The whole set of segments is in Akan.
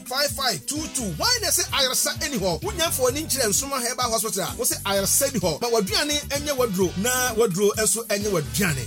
5522. Hwan na ɛse ayaresa nni hɔ? Wonya mfa w'ani nkyerɛ Nsoromma Herbal Hospital a, wose ayaresa nni hɔ. Ma w'aduane nyɛ w'aduro na w'aduro nso nyɛ w'aduane.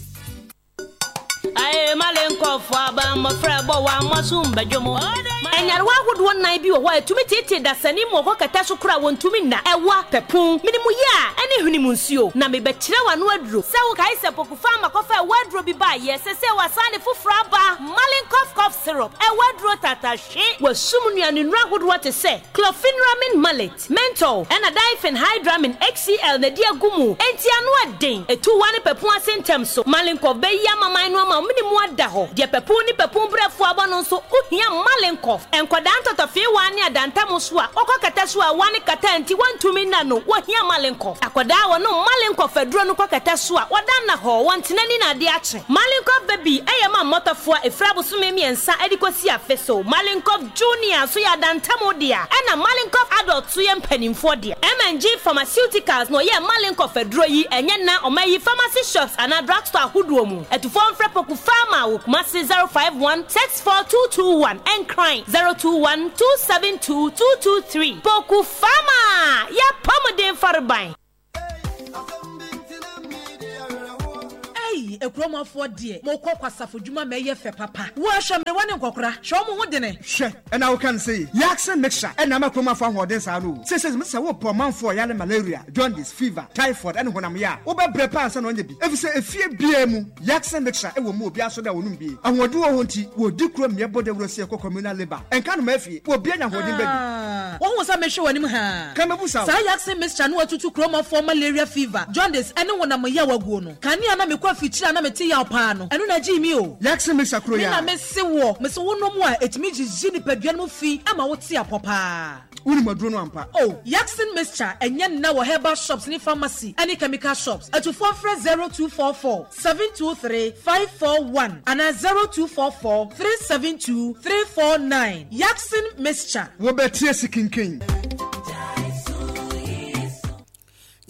Nyarewa ahodoɔ nnan bi wɔ hɔ a ɛtumi teetee dasani ma ɔkɔ kɛtɛ so koraa a wɔntumi nna, ɛwa, pɛpon, mene mu yea, ɛne hwene mu nsuo. Na mebɛkyerɛ wo ano aduro. Sɛ wokae sɛ Pokufa ama kɔfa ɛwa aduro bi baeɛ, sɛsɛ wɔasan de foforɔ aba, Malin Cough Cough Syrup, ɛwa aduro tatahwe. Wɔasum nnuanennuro ahodoɔ te sɛ Chlorpheniramine Maleate, Menthol, ɛna Diphenhydramine HCl na ɛde agu mu, enti ano ɛden. Ɛtu wa ne pɛpun ase ntɛm so. Malenkov bɛyi amaman no ama wo mene mu ada hɔ. Deɛ pɛpun ne pɛpun brɛfoɔ abɔ no nso, wohia Malenkov. Nkwadaa ntɔtɔfeewaa ne adantam so a wɔkɔ kɛtɛ so a wa ne kata nti wɔntumi nna no, wɔhia Malenkov. Akwadaa a wɔnom Malenkov aduro no kɔ kɛtɛ so a, wɔda nnahɔɔ, wɔntena ni na adeɛ akye. Malenkov Baby yɛ ma mmɔtɔfoɔ a ɛfiri abosome mmiɛnsa de kɔsi afe so. Malenkov Junior nso yɛ adantam dea, ɛna Malenkov Adult nso yɛ mpanimfoɔ dea. M&G Pharmaceuticals na ɔyɛɛ Malenkov aduro yi, ɛnyɛ nna ɔma yi pharmacy shops anaa drugstore ahodoɔ mu. Atufoɔ mfrɛ Poku Pharma wɔ Kumasi 051 64221, Nkran 021 272 223. Poku Pharma! Y'apɔmuden fareban! Ei akurom afoɔ deɛ mokɔ kwasafo dwuma ma ɛyɛ fɛ papa. Woa hwɛ mmerewa ne nkɔkora hwɛ wɔn ho dene. Hwɛ ɛna woka no sei Yaksen mixture ɛna ama kurom afo ahoɔden saa no o. Seesei mese sɛ wopɛ ɔmanfoɔ a ɔyare malaria, jaundice, fever, typhoid ɛne honam ya a, wobɛbrɛ paa ansa na wanya bi efisɛ efie biara mu Yaksen mixture ɛwɔ mu obiara so da a wɔnom bi. Ahoɔden wɔ hɔ nti wɔdi kuro mmea bɔ dawuro sɛ yɛkɔ communal labour ɛnka nnomaa fie obiara nya ahoɔden ba bi. Ah, wohu sɛ mehwɛ w'anim haa. Ka mɛbu sa wo. Saa Yaksen mixture no atutu kuromɔfoɔ malaria fever, jaundice ɛne honam yaw aguo no. Kane a na mekɔ afikyire a na mete yaw paa no, ɛno na ɛgyee me o. Yaksen mixture koro Me yi na ara. mese woɔ, mese wonom a, ɛtumi gyigye nipadua no mu fi ma wote apɔ paa. Wonim aduro no ampa? Oh, Yaksen mixture ɛnyɛ nna wɔ herbal shops ne pharmacy ɛne chemical shops. Atufoɔ mfrɛ 0244 723 541 anaa 0244 372 349. Yaksen mixture. Wobɛte asi kinkin.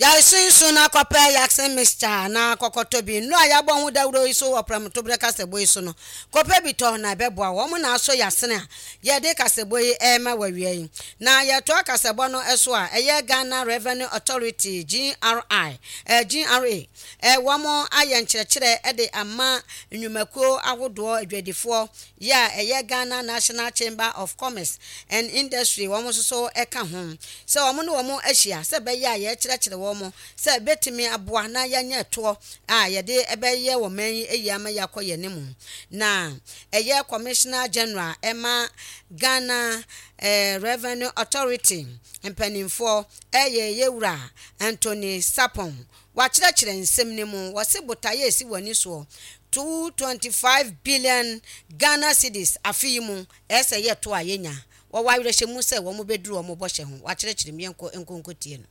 Gyae sunsun na kɔpɛ Yaksen mixture anaa kɔkɔtɔ bi. Nnuro a yɛabɔ ho dawuro yi so wɔ prɛmtoberɛ kasɛbɔ yi so no, kɔpɛ bi tɔ na ɛbɛboa wo. Wɔn na asɔ yɛn asene a yɛde kasɛbɔ yi rema wo awia yi. Na yɛtoa kasɛbɔ no so a, ɛyɛ Ghana Revenue Authority, GRI, eh, GRA, eh, wɔn ayɛ nkyerɛkyerɛ de ama nnwumakuo ahodoɔ, adwadifoɔ, Yɛ a ɛyɛ Ghana National Chamber of Commerce and Industry wɔn nso so ka ho sɛ wɔn ne wɔn ahyia sɛ ɛbɛyɛ a yɛrekyerɛkyerɛ wɔn sɛ ɛbɛtumi aboa na yɛanya ɛtoɔ a yɛde bɛyɛ wɔ man yi yie ama yɛakɔ yɛn anim. Na ɛyɛ Commissioner General ɛma Ghana Revenue Authority mpanimfoɔ ɛyɛ Yɛwura Anthony Sarpong. Wɔakyerɛkyerɛ nsɛm no mu, wɔse botaeɛ a ɛsi wɔn ani soɔ, 225 billion Ghana cedis afe yi mu, ɛyɛ sɛ yɛ to a yɛnya. Wɔwɔ awerɛhyɛmu sɛ wɔn bɛduru wɔn bɔhyɛ ho. Wɔakyerɛkyerɛ mu, yɛnkɔ nkɔ nkɔtie no.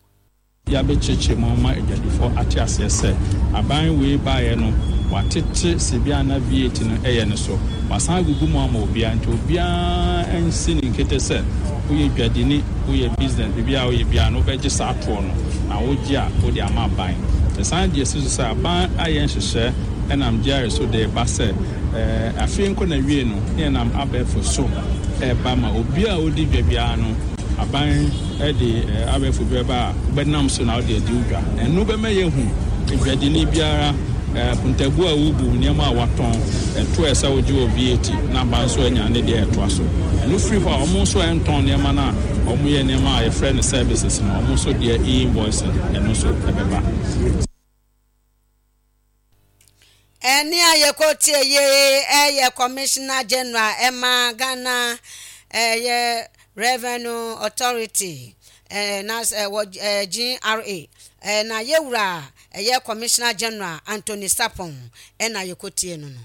Yɛabɛkyerɛkyerɛ mu ama adwadifoɔ ate aseɛ sɛ aban wei baeɛ no watete sɛbi a na VAT no yɛ no so. Wasan agugu mu ama obiara nti obiara nsi ne nkete sɛ woyɛ dwadini, woyɛ business, biribiara a woyɛ biara no wobɛgye saa toɔ no na wogye a wode ama aban. Yɛsan gye si so sɛ aban ayɛ nhyehyɛɛ nam GRA so de reba sɛ afe nkɔ n'awiei no na yɛnam abɛɛfo so reba ma obiara a ɔdi dwa biara no aban de abɛɛfo bi bɛba a wobɛnam so na wode adi wo dwa. Ɛno bɛma yɛahu dwadini biara akontabuo a wobu, nneɛma a watɔn, ɛto a ɛsɛ wogye wɔ VAT na aban nso anya ne deɛ ɛtoa so. Ɛno firi hɔ a, wɔn nso a ɛntɔn nneɛma no a wɔyɛ nneɛma a yɛfrɛ no services no, wɔn nso deɛ e-invoicing, ɛno nso ɛbɛba. Ɛnne a yɛkɔtie yei ɛyɛ Commissioner General ɛma Ghana ɛyɛ Revenue Authority na wɔ GRA na yɛwura ɛyɛ Commissioner General Anthony Sarpong ɛna yɛkɔtie no no.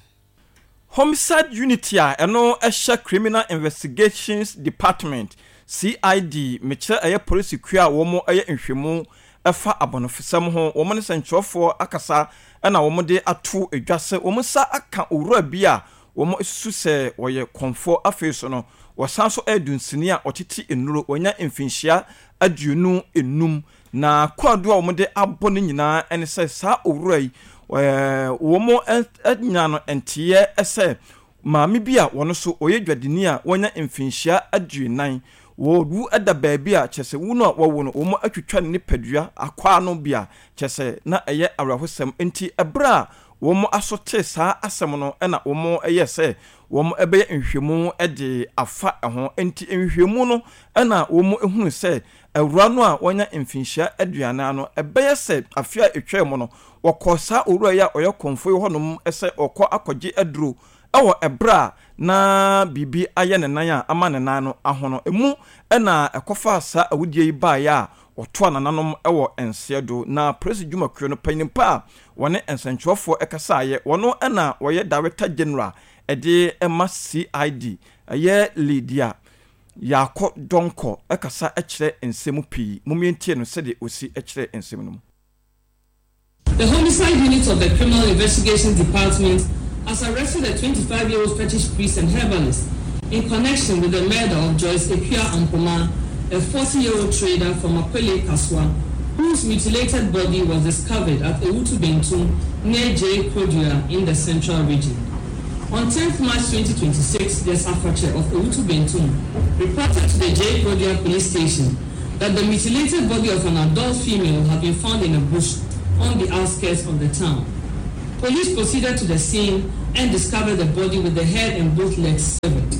Homicide Unit a ɛno hyɛ Criminal Investigations Department, CID, mekyerɛ ɛyɛ polisi kuo a wɔn yɛ nhwɛmu ɛfa abɔnefosɛm ho, wɔn ne sɛnkyerɛwfoɔ akasa na wɔn de ato dwa sɛ wɔn nsa aka owura bi a wɔn susu sɛ ɔyɛ kɔmfoɔ, afei nso no wɔsan nso yɛ dunsini a ɔtete nnuro, wanya mfinhyia 25. Na kwaadu a wɔde abɔ no nyinaa ne sɛ saa owura yi, wɔanya no nteɛ sɛ Maame bi a wɔno nso ɔyɛ dwadini a wanya mfinhyia aduonan, wɔwu da baabi a kyerɛ sɛ wu no a wawu no wɔatwitwa ne nipadua akwaa no bi a kyerɛ sɛ na ɛyɛ awerɛhosɛm. Enti ɛberɛ a wɔn aso tee saa asɛm no na wɔyɛɛ sɛ wɔbɛyɛ nhwehwɛmu de afa ho. Enti nhwehwɛmu no na wɔhunuu sɛ awuraa no a wanya mfinhyia aduanan no, ɛbɛyɛ sɛ afe a ɛtwaam no, wɔkɔɔ saa owura yi a ɔyɛ kɔmfoɔ yi hɔnom sɛ ɔrekɔ akɔgye aduro wɔ ɛberɛ a na biribi ayɛ ne nan a ama ne nan no ahono. Emu na ɛkɔfaa saa awudie yi baeɛ a wɔtoa nananom wɔ nseɛ do. Na polisi dwumakuo no panin pa a wɔne nsɛntwerɛfoɔ kasaeɛ, wɔno na wɔyɛ Director General de ma CID, ɛyɛ Lydia Yaakɔ Donkor kasa kyerɛ nsɛm mu pii. Mom yɛntie no sɛdeɛ ɔsi kyerɛɛ nsɛm no mu. The homicide unit of the Criminal Investigations Department has arrested a 25-year-old fetish priest and herbalist in connection with the murder of Joyce Ekua Ampoma, a 40-year-old trader from Akwele, Kaswa, whose mutilated body was discovered at Ewutu Bentum near J. Kodua in the central region. On 10th March 2026, the Safache of Ewutu Bentum reported to the J. Kodua police station that the mutilated body of an adult female had been found in a bush on the outskirts of the town. Police proceeded to the scene and discovered the body with the head and both legs severed.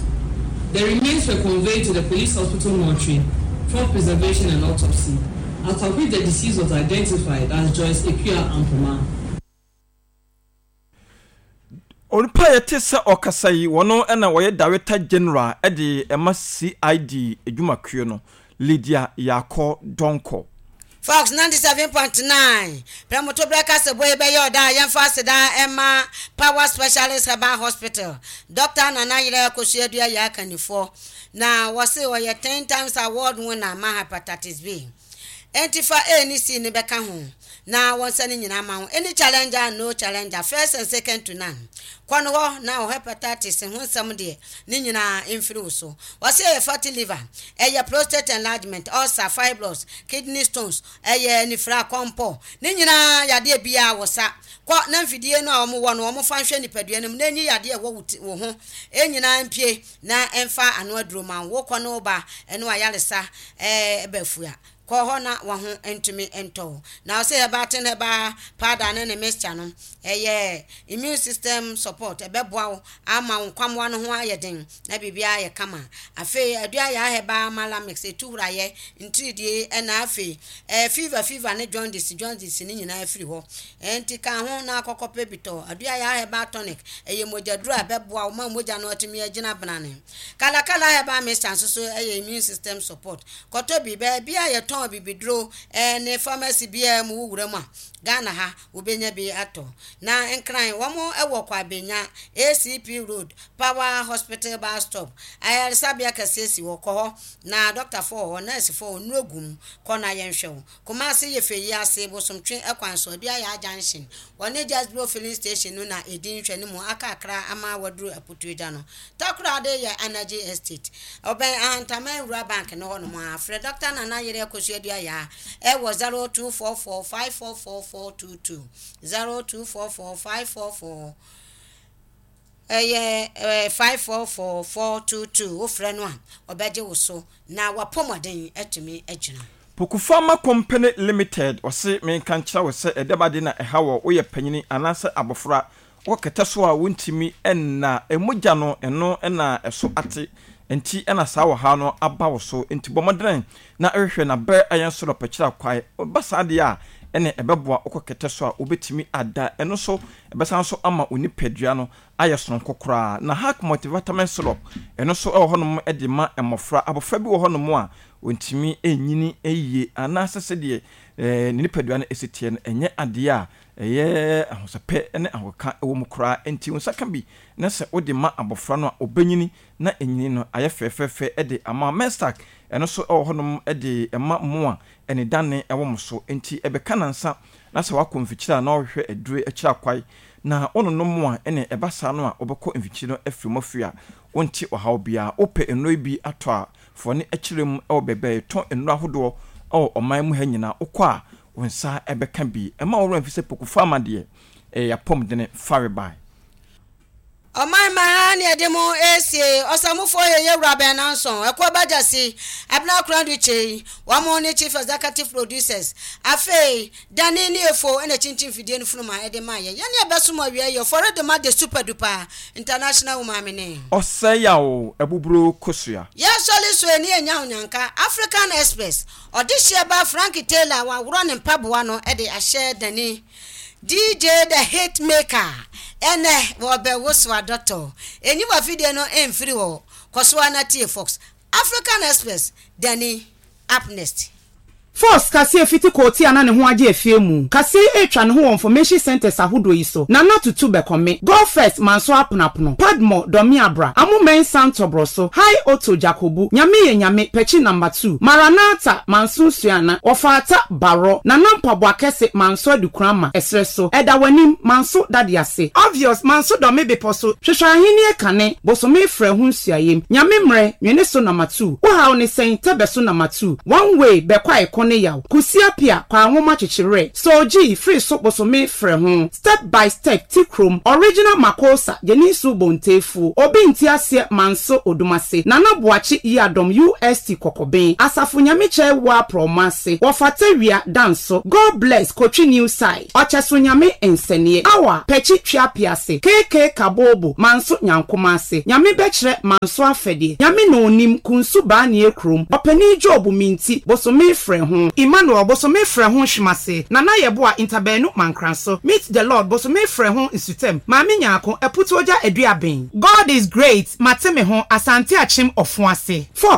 The remains were conveyed to the police hospital mortuary for preservation and autopsy, after which the deceased was identified as Joyce Ekua Ampoma. Onipa a yɛte sɛ ɔkasa yi, wɔno na wɔyɛ Director General de ma CID adwumakuo no, Lydia Yaakɔ Donkor. Fox 97.9, Prɛmotoberɛ kasaboa yi bɛyɛ ɔda a yɛmfa aseda mma Power Specialist Herbal Hospital, Dɔkta Nana Yerɛ Akosua Dua yɛ akannifoɔ, na wɔse ɔyɛ 10 times award winner ma Hepatitis B. Enti fa A ne C no bɛka ho na wɔnsa ne nyinaa ma wo. Any challenger and no challenger, first and second to none. Kɔ no hɔ na wo hepatitis ho nsɛm deɛ ne nyinaa mfiri wo so. Wɔse ɛyɛ fatty liver, ɛyɛ prostate enlargement, ulcer, fibroids, kidney stones, ɛyɛ anifira, kɔmpɔ, ne nyinaa yadeɛ biara wɔ sa. Kɔ na mfidie no a wɔwɔ no wɔfa nhwɛ nipadua no mu na ɛnyi yadeɛ ɛwɔ wo ho nyinaa mpue. Na ɛmfa ano aduro ma wo. Wokɔ ne wo ba ne w'ayaresa ba fua. Kɔ hɔ na w'aho ntumi ntɔ wo. Na ɔse herbal ten herbal powder ne ne mixture no ɛyɛ immune system support ɛbɛboa wo ama wo nkwamoa no ho ayɛ den na biribiara ayɛ kama. Afei aduayaa herbal mala mix ɛtu hurayɛ, ntiridie ɛna afei ɛɛ fever fever ne jaundice jaundice ne nyinaa firi hɔ. Ɛnti ka ho na kɔkɔpɛ bi tɔ. Aduayaa herbal tonic, ɛyɛ mogyaduro a ɛbɛboa wo ma mogya no atumi agyina benane. Kala Kala herbal mixture nso so yɛ immune system support. Kɔtɔ bi, baabi a yɛtɔn abibiduro ne pharmacy biara mu wo wura mu a, Ghana ha wobɛnya bi atɔ. Na Nkran, wɔn wɔ Kwabenya, ACP road, Power Hospital bus stop. Ayaresabea kɛseɛ si hɔ, kɔ hɔ na dɔktafoɔ wɔ hɔ, nɛɛsefoɔ wɔ hɔ, nnuro gu mu, kɔ na yɛnhwɛ wo. Kumasi yɛ fɛ yi ase Bosomtwe kwan so, Aduayaa Junction. Wɔne Jasbro Filling Station no na ɛdi nhwɛne mu aka kakra ama waduru Aputuagya no. Takoradi yɛ Energy Estate. Ɔbɛn Ahantaman Nwura Bank no hɔnom ara. Frɛ Dɔkta Nana Yere Akosua Aduayaa wɔ 0244 544 422, 0244 544 Ɛyɛ 544 422. Wofrɛ no a, ɔbɛgye wo so na w'apɔmɔden atumi agyina. Pokufama Company Limited ɔse menka nkyerɛ wo sɛ ɛdɛm ade na ɛha wɔ woyɛ panyini anaasɛ abɔfra wokɔ kɛtɛ so a wontumi nna mogya no ɛno na ɛso ate nti na saa ɔhaw no aba wo so nti bɔ mmɔdene na hwehwɛ na brɛ yɛn so dɔpɛkyerɛ akwae ba saa deɛ a ɛne ɛbɛboa wokɔ kɛtɛ so a wobɛtumi ada ɛno nso ɛbɛsan nso ama wo nipadua no ayɛ sononko koraa. Na Hack Multivitamin Syrup, ɛno nso wɔ hɔnom de ma mmɔfra. Abɔfra bi wɔ hɔnom a, ɔntumi nnyini yie anaasɛ sɛdeɛ ne nipadua no si teɛ no, ɛnyɛ adeɛ a ɛyɛ ahosɛpɛ ne ahokeka wɔ mu koraa. Enti wo nsa ka bi na sɛ wode ma abɔfra no a, ɔbɛnyini na nyini no ayɛ fɛfɛɛfɛ de ama. Mestac, ɛno nso wɔ hɔnom de ma mo a anidane wɔ mo so. Enti ɛbɛka nnansa na sɛ woakɔ mfikyire a na wohwehwɛ aduro akyiri akwae na wononom a, ɛne ɛba saa no a wobɛkɔ mfikyire no afiri mu afiri a wonte ɔhaw biara. Wopɛ nnuro yi bi atɔ a, fa w'ani kyerɛ mu wɔ baabi a yɛtɔn nnuro ahodoɔ wɔ ɔman mu ha nyinaa. Wokɔ a, wo nsa bɛka bi. Mma wo werɛ mfi sɛ Poku Pharma deɛ, ɛyɛ y'apɔmudene farebae. Ɔman mma ha ne yɛde mo resie Ɔsamufoɔ Yeye Wura Bɛnanson, Ɛkoɔ Bagyasi, Abena Koradu Kyei, wɔn ne Chief Executive Producers. Afei, Danny ne Efo na ɛkyinkyim fidie no funuma de maa yɛn. Yɛne ɛbɛsom awia yi, Ɔfɔre Doma de Super Duper International Woman me ne. Ɔsɛe yaw abuburo kosua. Yɛsɔre so ani anya onyanka, African Express, Ɔdehyeɛ ba Frank Taylor a waworɔ ne mpaboa no de ahyɛ Danny. DJ the hit maker ɛnɛ wɔbɛwoso adɔtɔ. Enyi w'afidie no mfiri hɔ, kɔ so ara na tie Fox. African Express, Danny, up next. Fox kaseɛ fiti koote a na ne ho agye afie mu kaseɛ yi retwa ne ho wɔ information centres ahodoɔ yi so, Nana Tutu Bɛkɔme, Go First Manso Aponapono, Padmore Dɔmeabra, Amo Mensah Ntɔbrɔso, High Otto Jakobu, Nyame Yɛ Nyame, Pɛkyi Number 2, Maranatha Manso Suana, Wɔfaata Barɔ, Nana Mpaboa Kɛse Manso Adukurama, Ɛserɛ so, Ɛda W'anim, Manso Dade Ase, Obvious Manso Dɔme Bepɔ So, Hwehwɛ Ahennie Kane, Bosome Frɛ Ho Nsuayem, Nyame Mmerɛ, Nwene So Number 2, Wo Haw Ne Sɛn, Tɛbɛ So Number 2, One Way, Bɛkɔ A Ɛko Ne Yaw, Kusi Apia, Kwaa Nwoma Kyekye Werɛ, Soul G, Firi So Bosome Frɛ Ho, Step by Step, Ti Krom, Original Makosa, Gyeninsu Bontefuo, Obi Nte Aseɛ Manso Odumase, Nana Boakye Yiadom UST Kɔkɔben, Asafo Nyamekyɛ Woa Prɔmo Ase, Wɔfata Wia Danso, God Bless Kotwi New Side, Ɔkyɛso Nyame Nsɛneɛ, Awa Pɛkyi Tweapease, KK Kabobo, Manso Nyankomase, Nyame Bɛkyerɛ Manso Afɛdeɛ, Nyame Na Onim, Kunsu Baanie Krom, Ɔpanin Job Minti, Bosome Frɛ Ho, Emmanuel, Bosome Frɛ Ho Hwemase, Nana Yeboah Ntabaanu Mankranso, Meet the Lord, Bosome Frɛ Ho Nsutam, Maame Nyarko, Aputuogya Aduaben. God is great, Mate me ho, Asante Akyem Ɔfoase. Fox.